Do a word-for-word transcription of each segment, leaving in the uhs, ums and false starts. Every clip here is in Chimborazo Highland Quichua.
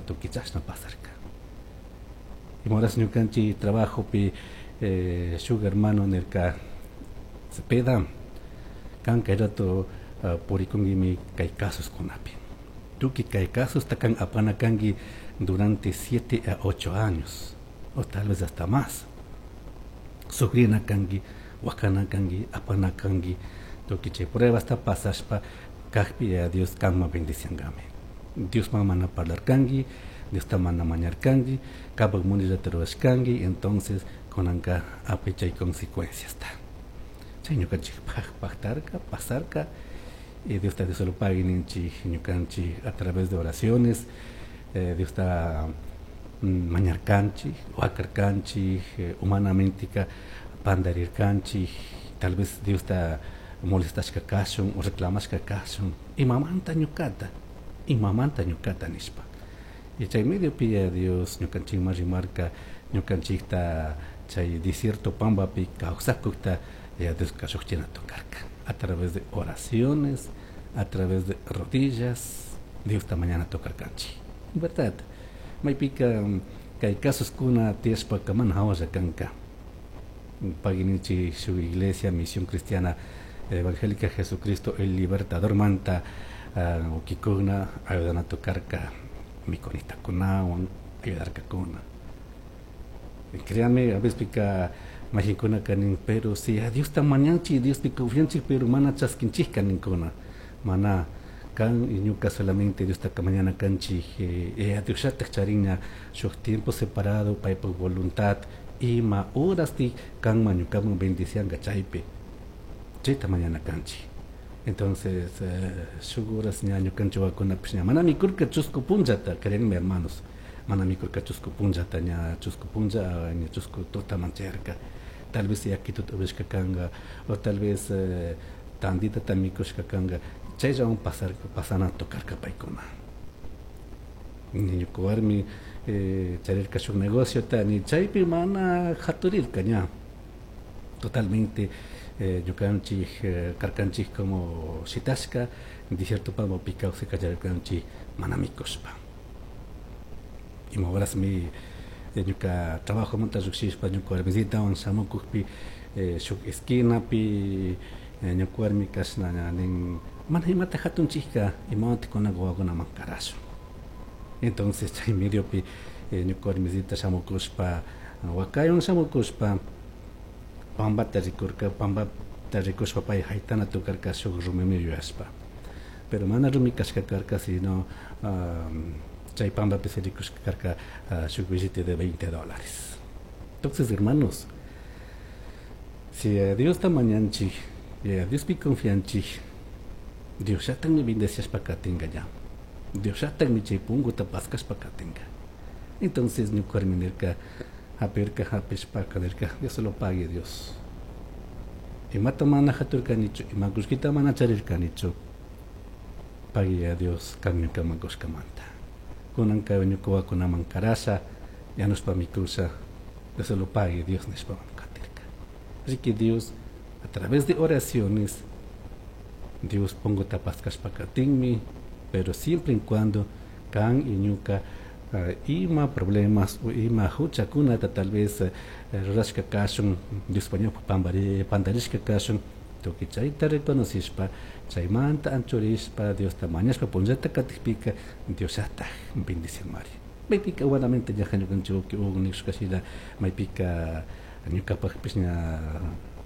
Tukuy chashna pasarka. Ima horas ñukanchik trabajopi eh, shuk hermano nirka: "Cepeda, kan kay rato uh, purikunkimi kay casoskunapi, tukuy kay casos kan apana kanki durante siete a ocho años o tal vez hasta más, sufrina kanki, wakana kanki, apana kanki, tukuy chay pruebasta pasashpa kajpi ya Dios kanman bendiciangami. Diosman mana parlarkanki, Diosta mana mañarkanki, kapak munillata rurashkanki, entonces kunanka apay chay consecuenciasta." Chay ñukanchikpaj pajtarka, pasarka, y Diosta Dios lo pague ninchik. Ñukanchik a través de oraciones eh, Diosta mm, mañarkanchik, wakarkanchik, eh, humanamente pandarirkanchik, tal vez Diosta molestashka kashun o reclamashka kashun, imamanta ñukata, imamanta ñukata nishpa. Y chay mediopi ya Dios ñukanchikman rimarka, ñukanchikta chay desierto pambapi kawsakukta ya Dios llukchina tocarka a través de oraciones, a través de rodillas, Diosta mañana tocarkanchik, verdad. Maypika kay casoskuna tiyashpaka mana hawalla kanka. Pagui ninchik shuk iglesia Misión Cristiana Evangélica Jesucristo el Libertador manta uh, wawkikuna ayudana tocarka, mikunitakunawan ayudarkakuna. Créanme, a veces pika mayqinkunaka nin: "Pero si a Diosta mañanchik, Diospi confianchik, pero mana chaskinchikka", ninkuna. Mana, kan y ñuka solamente Diosta mañana kanchik, eh, Diosllatak charinña shuk tiempo separado paypak voluntad ima horasti kanman ñukaman bendicianga, chaypi chayta mañana kanchik. Entonces eh, shuk horas ña ñukanchik wawakunapish ña mana mikurka chusku punllata. Créanme, hermanos, mana mikurka chusku punllata, ña chusku punlla, ña chusku tutaman chayarka. Tal vez yakituta upishka kanka o tal vez eh, tanditata mikushka kanka, chayllawan pasar pasana tocarka paykuna. Ñuka warmi eh, charirka shuk negociota, ni chaypi mana haturirka, ña totalmente eh, ñukanchik eh, karkanchik como shitashka desierto pambapi kawsay kallarirkanchik mana mikushpa. Ima horasmi ñuka trabajomanta llukshishpa ñuka warmisitawan shamukukpi, eh, shuk esquinapi eh, ñuka warmi kashna ña nin: "Mana imata hatunchikka, imawantik kunanka wawakunaman karashun?" Entonces chay mediopi eh, ñuka warmisita shamukushpa, wakaywan shamukushpa, pambata rikurka. Pambata rikushpa pay haytana tukarka shuk rumimi yuyashpa, pero mana rumi kashka karka, sino um, chay pambapi se rikushka karka uh, shuk billete de veinte dólares. Entonces, hermanos, si a Diosta mañanchik y a Diospi confianchik, Diosllatakmi bendeciashpa katinka ña, Diosllatakmi chay punguta paskashpa katinka. Entonces ñuka warmi nirka, hapirka, hapishpaka nirka: "Dios se lo pague, Dios. Imata mana haturkanichu, ima kullkita mana charirkanichu, pagui a Dios kan ñukaman kushkamanta. Kunanka ñuka wawakunaman karasha, yanushpa mikusha, Dios se lo pague, Dios", nishpa katirka. Así que Dios, a través de oraciones, Dios punguta paskashpa katinmi, pero siempre en cuando kan y ñuka uh, ima problemas o ima huchakunata tal vez uh, rurashka kashun, Diospa ñawpa pambari pandarishka kashun, tukuy chayta reconocishpa, chaymanta anchurishpa, Diosta mañashpa punllata katikpika, Diosllatak bendicianmari. Maypika humanamente ñaja ñukanchik nishka shina, maypika ñukapakpish ña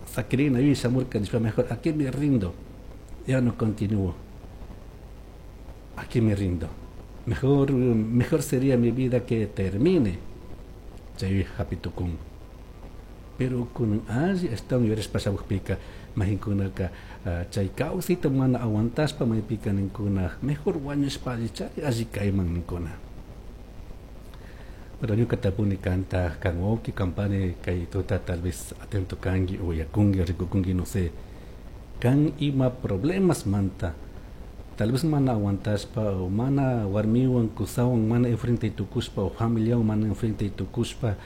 sakirina yuyay shamurka nishpa: "Mejor aquí me rindo, ya no continúo, aquí me rindo, mejor mejor sería mi vida que termine", chay hapi tukun. Pero kunan alli ashtawan yuyarishpa shamukpika, mayqinkunaka chay kawsayta mana aguantashpa maypika ninkuna: "Mejor wañushpa allichari alli kayman", ninkuna. Pero ñuka tapuni kanta, kan wawki, kan pani, kay tuta tal vez atento kanki o uyakunki, rikukunki, no sé, kan ima problemas manta tal vez mana aguantashpa o mana warmiwan kusawan mana enfrente tukushpa o familiawan mana enfrente tukushpa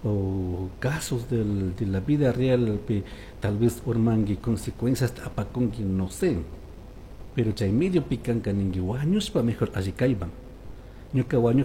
o casos del, de la vida real pi tal vez urmanki, consecuencias apakunki, no sé, pero chay medio pi kanka ninki: "Wañushpa mejor alli kayman, ñuka wañukpi".